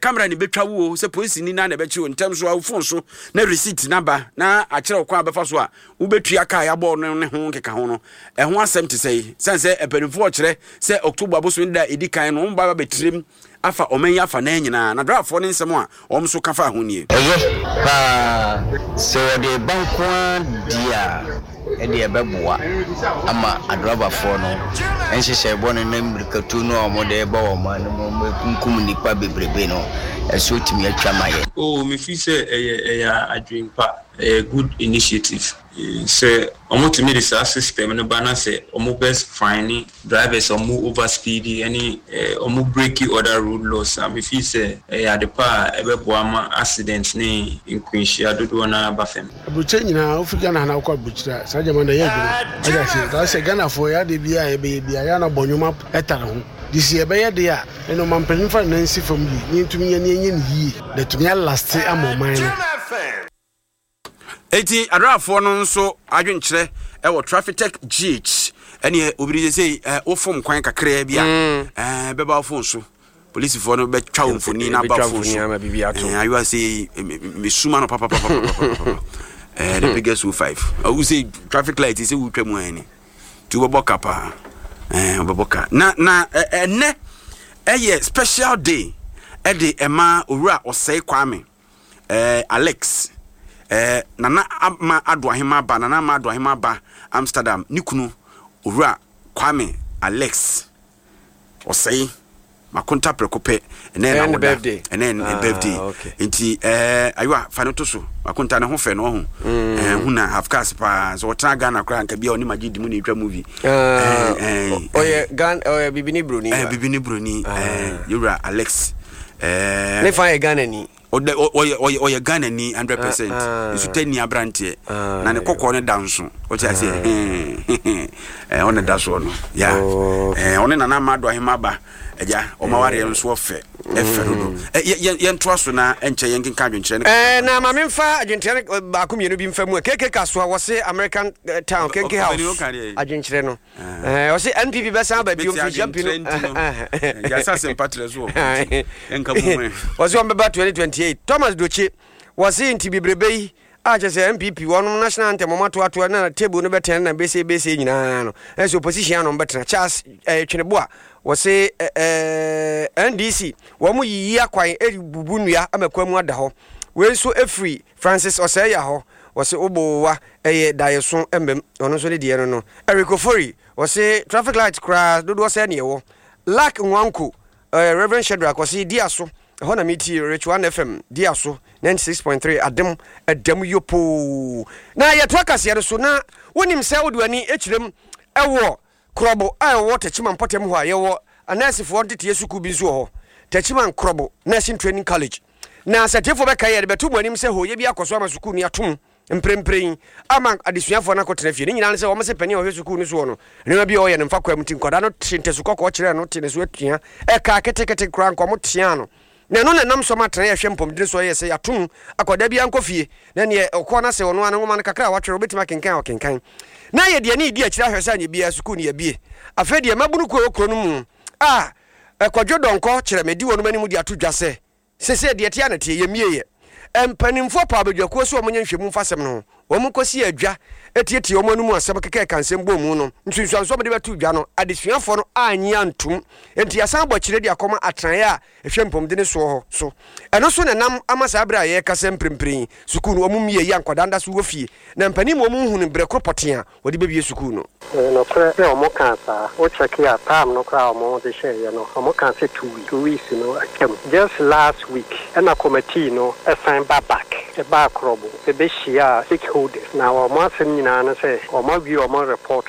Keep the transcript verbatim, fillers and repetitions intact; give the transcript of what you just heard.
Camera ne bɛtwa wo o, sɛ polisi ni na na ɛbɛkye wo ntɛm so a, wo phone so na receipt naba na akyerɛ wo kwan a bɛfa so a wobɛtua kaa yɛabɔ no ne ho nkeka ho no. Ɛho asɛm te sɛ yi sɛne sɛ mpanimfoɔ kyerɛ sɛ October bosome da a ɛdi kan no, wɔn ba bɛtirim afa ɔman yi afa nan nyinaa, na driverfoɔ ne nsɛm a wɔn nso ka fa ho nie. Ɛyɛ paa sɛ wɔde ba nko ara di a, ɛde ɛbɛboa ama adrɔbafoɔ no nhyehyɛ bɔne ne mmirikatu no a wɔde bɔ wɔn man no mu, wɔkunkum nnipa bebrebe no, ɛso tumi atwa ma yɛ. Oh, me feel sɛ ɛyɛ ɛyɛ adwene pa, ɛyɛ good initiative. Sɛ ɔmo tumi de saa system no ba na sɛ ɔmo bɛ fine drivers a ɔmo over speed ɛne ɔmo break other road laws a, me feel sɛ ɛyɛ ade pa a ɛbɛboa ma accident ne nkwanhyia dodoɔ no aba fam. Aburokyire nyinaa, wofi Ghana ha na wokɔ aburokyire a, saa gyama na ɛyɛ adwuma. Ɔyɛ ase taa sɛ Ghanafoɔ yɛ ade biara a yɛbɛyɛ biara yɛ ana bɔ nnwoma ɛtare ho de si yɛbɛyɛ de a, ɛna ɔman mpanyin fa ne nan si fam yie ne yɛntumi nyɛ ne yɛnyɛ ne yie na tumi alast ama ɔman no. Eti adraafoɔ no nso adwenkyerɛ ɛwɔ Traffic G H ɛneɛ obiri sɛ sɛ wofom kwan kakraa bi a, ɛɛ bɛba wo phone so, polisifoɔ no bɛtwa wo mfoni na aba phone so. Ayiwa sɛ mesuma no papapapapapa, ɛɛ the biggest o five ɔwu sɛ traffic light sɛ wotwa mu ani nti wobɛbɔ ka paa, ɛɛ wobɛbɔ ka. na na ɛnɛ ɛyɛ special day ɛde ɛma Owura Ɔsɛe Kwame ɛɛ Alex, ɛɛ Nana Ama Ado Ahema ba, Nana Ama Ado Ahema ba Amsterdam, ne kunu Owura Kwame Alex Ɔsɛe Makonta prɛko pɛ. Ɛnɛ na woda, ɛnɛ ne birthday, nti ɛɛ ayiwa fa ne to so. Makonta ne ho fɛ no, ɔho ɛɛ hu na half cast paa sɛ ɔtena Ghana koraa nka bia ɔne magye di mu na etwa movie. Ɛɛ ɔyɛ Ghana, ɔyɛ bibini broni. Ɛɛ bibini broni, ɛɛ yewura Alex ɛɛ ne fa yɛ Ghana ni. Ɔdɛ ɔyɛ ɔyɛ ɔyɛ Ghana ni hundred percent, nso ni aberanteɛ na ne kɔkɔɔ ne da nso, ɔte aseɛ, ɛɛ ɔne da soɔ no ya, ɛɛ ɔne Nana Ama Ado Ahema ba agya ɔma wareɛ nso ɔfɛ, ɛfɛ dodo. Ɛ yɛ yɛntoa so na ɛnkyɛ yɛn kenka adwenkyerɛ ne. Ɛɛ na maame nfa adwenkyerɛ no baako mmienu bi nfa mu a keke kasoa wɔse American Town Kenke House adwenkyerɛ no, ɛɛ ɔse N P P bɛsan aba bio mfirihyia mpi no. Yasa asɛmpa trɛ so wɔ ɛnka mu mɛ. Wɔse wɔn bɛba twenty twenty-eight. Thomas Doche wɔse nti bebrebe yi a kyerɛ sɛ N P P wɔnom national anthem wɔn atoatoa na table no bɛtɛn na bɛsɛ bɛsɛ nyinaa no, ɛsɛ opposition ano bɛtena. Charles ɛɛ Tweneboa wɔse ɛɛ N D C wɔn yiyi akwan ɛbubu nnua ama kwan mu ada hɔ. Wei nso efiri Francis Ɔsɛɛya hɔ, wɔse wobowa ɛyɛ daeɛso mbɛm, ɔno nso ne deɛ no no Eric Ofori wɔse traffic light koraa dodoɔ sɛ neɛ wɔ Lak Nwanko. ɛɛ Reverend Shadrach wɔse di aso ɛhɔ na metie Rich One F M di aso ninety-six point three adem ɛdɛm yopoo. Na yɛtoa kaseɛ no so, na wonim sɛ wode w'ani kyerɛm ɛwɔ Korɔbo a ɛwɔ Tɛkyima mpɔtam hɔ a, yɛwɔ anɛɛsefoɔ nteteɛ sukuu bi nso wɔ hɔ, Tɛkyima Nkorɔbo Nursing Training College. Na sɛ tiefoɔ bɛka yɛ de bɛto mu anim sɛ hooyɛ bi akɔ so ama sukuu no atom mprempren ama adesuafoɔ no akɔtena fie. Ne nyinaa ne sɛ wɔn sɛ panin a ɔhwɛ sukuu no soɔ no, nneɛma bi a ɔyɛ no mfa kwan mu, nti nkwadaa no te ntasu kɔkɔɔ kyerɛ no te ne so atua ɛka ketekete koraa nkɔmɔ tea no, na ɛno na ɛnam so ma atena yɛhwɛ mpɔmdene so. Ɛyɛ sɛ yɛatom akwadaa bi ankɔ fie na neɛ ɔkɔ no sɛ ɔno ano nwoma no kakra a watwerɛ wobɛtumi akenkan a ɔkenkan, na yɛde ani di akyire ahwɛ sɛ anyɛ biara sukuu no yɛbie. Afei deɛ mabunu kuo wɔ kuro no mu a ɛkwadwo dɔnkɔ kyerɛ medi wɔnom anim de ato dwa sɛ sese deɛ tea na teɛ yɛmie yɛ mpanimfoɔ pa abadwakuo so wɔn nyɛ nhwɛmu mfa asɛm no ho, wɔn kɔsi adwa etietie wɔn anum asɛm keka ɛka nsɛm bɔ mu no nsunsuansoɔ wɔde bɛto dwa no, adesuafoɔ no anyi antum, nti yɛsan bɔ akyire de akɔma atenaeɛ a ɛhwɛ mpɔmuden soɔ hɔ so. Ɛno so na nam ama saa berɛ a yɛrekasa mprempren sukuu no wɔn mmie yi a nkwadaa nda so wɔ fie, na mpanin mu wɔn nhunu berɛ koro pɔtee a wɔde bɛbie sukuu no. Nokorɛ sɛ ɔmo kaa saa, wokyɛke a time no koraa a ɔmo de hyɛeɛ no, ɔmo kaa sɛ two weeks, two weeks no atwam. Just last week ɛna committee no ɛsan ba back ɛbaa Korɔbo ɛbɛhyia stakeholders, na ɔmo asɛm nyinaa no sɛ ɔmo awie ɔmo report.